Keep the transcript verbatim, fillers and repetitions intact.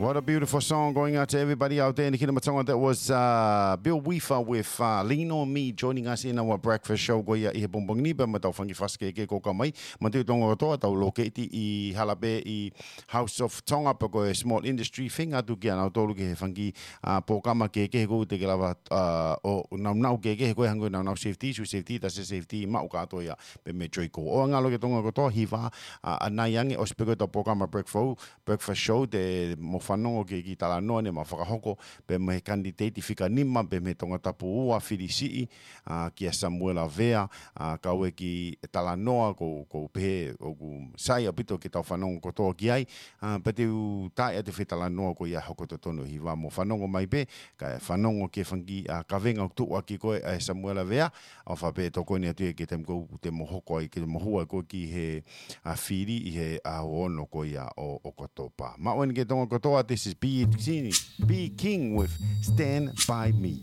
What a beautiful song going out to everybody out there in the Kingdom of Tonga. That was uh, Bill Weaver with uh, Lean on Me, joining us in our breakfast show ko ia ʻi he pongipongi ni, pea mo ʻetau fanga kiʻi fasi kehekehe ko ē mai. Manatuʻi Tonga kotoa, tau lokeiti ʻi Halape ʻi House of Tonga, pe ko e Small Industry, feinga atu kia nautolu ki he fanga kiʻi uh, polokalama kehekehe ko ē te ke lava uh, ʻo naunau kehekehe ko ē hangē ko e naunau safety, ʻū safety, tasi safety, maʻu kātoa ia pē mei Joico. ʻOua ngalo ki Tonga kotoa, hiva uh, ʻanai ange, ʻosi pē ko ē ʻetau polokalama breakfast breakfast show, te mou fanongo ki he kiʻi talanoa ne ma fakahoko pea mo e candidate fika nima pea mei Tongatapu ua, fili siʻi, uh, kia Samuela Vea, uh, kau e kiʻi talanoa ko, ko pehē ʻoku sai ʻaupito ke tau fanongo kotoa ki ai, uh, pea te u taaʻi atu e foʻi talanoa ko ia hoko totonu hiva, mou fanongo mai pē, kae fanongo ki he fanga kiʻi uh, kavenga ʻoku tuʻu ʻaki ko ē ʻa Samuela Vea, ʻofa pē tokoni atu ia ki he taimi ko ē te mou hoko ai, ke mou hū ai ko ē ki he uh, fili ʻi he uh, ʻaho ono ko ia ʻo, ʻo ʻOkatopa. Maʻu eni ki Tonga kotoa, this is Be King, Be King with Stand By Me.